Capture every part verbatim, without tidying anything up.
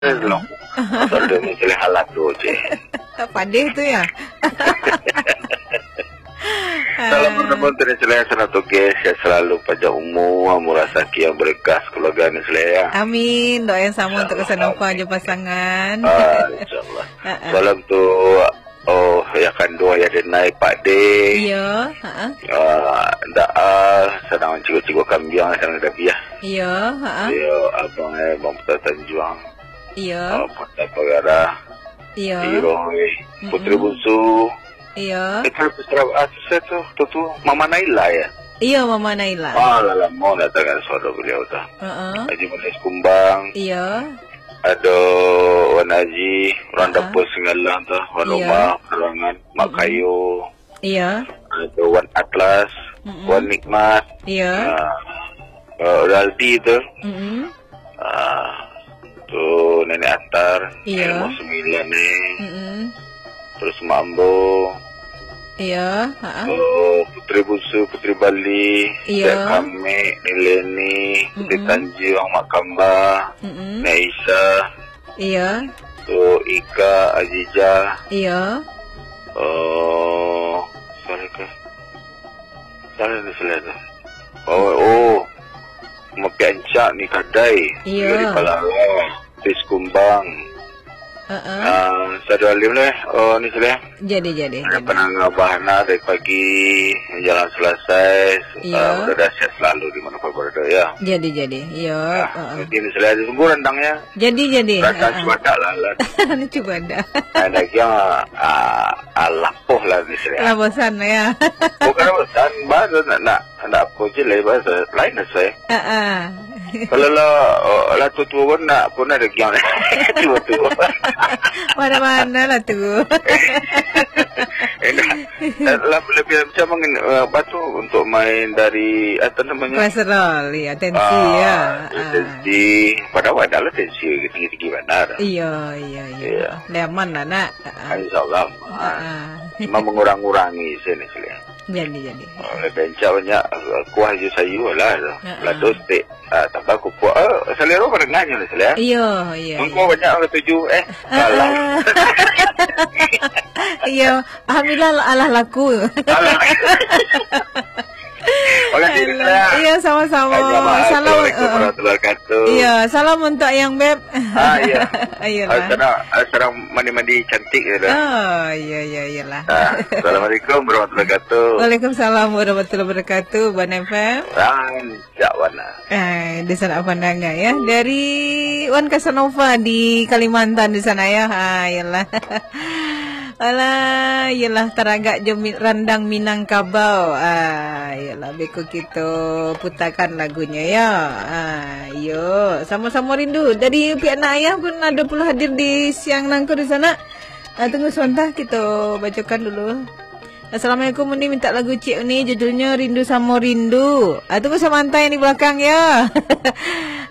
Lo. Asal dia mencari halal tu je. Padeh tu ya. Salam Ah. Menemukan Teri Celaya Sana Toge, sehat selalu, panjang umur, murah rezeki yang berkah, keluarga ni Celaya. Amin. Doa yang sama untuk Insya Allah. Kesenangan je pasangan. Ah, insya Allah. Ah, ah. Salam tu, oh, ya kandung, ya denai, Pak De. Iya, ha. Ah, ndak ah, sadang cikok-cikok kambiang, sadang dabiah. Iya, ha. Iya, abang eh, Bang Putra Tanjuang. Iya. Ah, Putra Pagara. Iya. Iroi. Putri Mm-mm. Bungsu. Iya. Itu Putra, ah, tu saya tu, tu, tu, Mama Naila ya? Iya, Mama Naila. Ah, lah lama nak dengar suara beliau tu. Heeh. Haji Manis Kumbang. Iya. Ado Wan Haji, urang Ha-ha. Dapur Singgalang tu, Wan Iya. Rumah, Karangan, Mak Mm-mm. Kayo. Iya. Ado Wan Atlas, Mm-mm. Wan Nikmat. Iya. Ah, eh, Raldi tu. Mm-mm. Ah, tu Nenek Atar, Iya. Nenek Sembilan ni. Mm-mm. Terus Mak Ambo. Iya, ha-ha. Oh, Putri Bungsu, Putri Bali, Iya. Dek Kamek, Ni Leni, Putri Mm-mm. Tanjuang, Mak Kamba, Mm-mm. Nek Isa, Iya. Tu Ika, Aziza. Iya. Oh, siapa ke? Siapa ni selain tu? Oh, oh. Mapiak Encak ni kadai. Iya. Dari Palala. Tis Kumbang. Heeh. Ah, Sadu Alim ni. Oh, ni selain. Jadi, jadi, Ada jadi. Penangah Bahana dari pagi menjelang selesai. Iya. Ah, mudah-mudahan sehat selalu di mana pun berada, ya. Jadi, jadi. Iya, Nah, heeh. Mungkin selain itu, sungguh rendangnya. Jadi, jadi. Rasa Heeh. cubadak lah, lah. Ni cubadak. Nah, daging, ah, ah, lapuh lah, ni selain. Lah bosan, ya. Bukan bosan, bahasa nak, nak, nak apa je lah, bahasa lain lah, saya. Heeh. Kalau lah, oh, lah tua-tua pun nak, pun ada giang. Tua-tua. Mana-mana lah tu. Eh, dah. Eh, lah, lebih macam mangin-, eh, apa tu, untuk main dari, apa namanya? Kolesterol, ya, tensi, Ah, ya. Ah. Tensi. Padahal ada lah tensi tinggi-tinggi mana dah. Iya, iya, iya. Iya. Dah aman lah, nak. Ah, Ah. insya Allah. Ah. Ah. Cuma mengurang-urangi sini, sini. Jadi, jadi. Oh, lebih encak banyak, eh, kuah je sayur lah tu. Ha, ha. Lado stek, ah, tambah kupuak. Eh, selera menengah je lah, selera. Iya, iya, Mangko iya. banyak orang tuju. Eh, Ha, salah. ha. Iya, alhamdulillah alah laku. Alah. Makasih, Alah. Selera. Iya, sama-sama. Salam. Salam, Assalamualaikum eh, eh. warahmatullahi wabarakatuh. Iya, salam untuk yang beb. Ah, iya. Ayolah. Ah, sekarang, ah, sekarang mandi-mandi cantik je dah. Oh, iya, iya, iyalah. Ah, Assalamualaikum warahmatullahi wabarakatuh. Waalaikumsalam warahmatullahi wabarakatuh, Wan F M. Rancak warna. Eh, di sana pandangan ya. Dari Wan Casanova di Kalimantan di sana ya. Ha, iyalah. Alah, iyalah, taragak jo mi-, randang Minangkabau. Ah, iyalah, beko kito putakan lagunyo, yo. Ah, iyo, Samo-Samo Rindu. Dari pihak nak ayah pun ado pulo hadir di siang nangko di sana. Ah, tunggu sabanta, kito bacokan dulu. Assalamualaikum, Uni minta lagu Cik Uni, judulnyo Rindu Samo Rindu. Ah, tunggu sabanta yang di belakang, yo.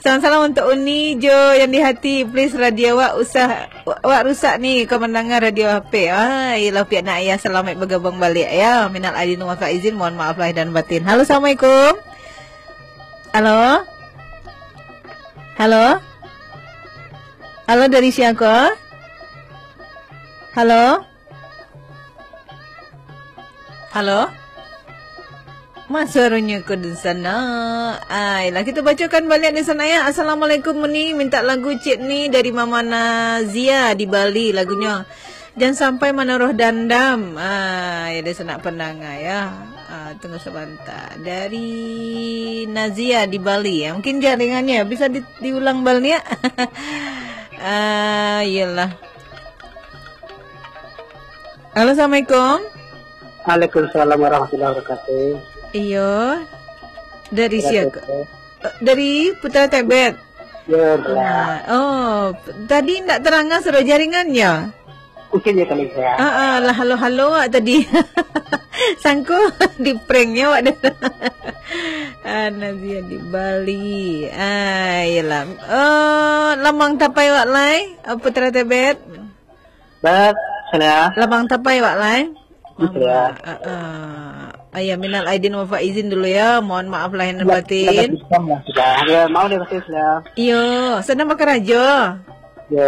Salam-salam untuk Uni jo yang di hati. Please, radio awak usah Wa-, awak rusak ni, kau mandanga radio H P. Ah, iyalah, pihak nak ayah, salamaik bagabung baliak, ya. Minal aidin wal faizin, mohon maaf lahir dan batin. Halo, assalamualaikum. Halo? Halo? Halo, dari siapa? Halo? Halo? Masuarunyo ko di sana. Ai, lah, kito bacokan baliak di sana, ya. Assalamualaikum, Uni. Minta lagu Cik Ni dari Mama Nazia di Bali lagunyo. Jan Sampai Manaruah Dandam. Ah, ya, dari sanak pandanga, ya. Ah, tunggu sabanta. Dari Nazia di Bali, ya. Mungkin jaringannya bisa di-, diulang baliak. Ah, iyalah. Halo, assalamualaikum. Waalaikumsalam warahmatullahi wabarakatuh. Iyo. Dari Putra siapa? Tebet. Eh, dari Putra Tebet. Ya, belah. Ah, oh, tadi ndak terangah sudah jaringannya? Mungkin ya kali ya. Ah, ah, lah halo-halo awak tadi. Sangko di prank nyo awak dah. Ah, Nazia di Bali. Ah, iyalah. Oh, lamang tapai awak lai, ah, Putra Tebet. Beb, salah. Lamang tapai awak lai. Salah. Mama, ah, ah. Ayah, minal aidin wal faizin dulu ya. Mohon maaf lahir dan Ya, batin. Salah, salah, salah. Ya, maaf lahir batin, salah. Iyo, sadang bakarajo.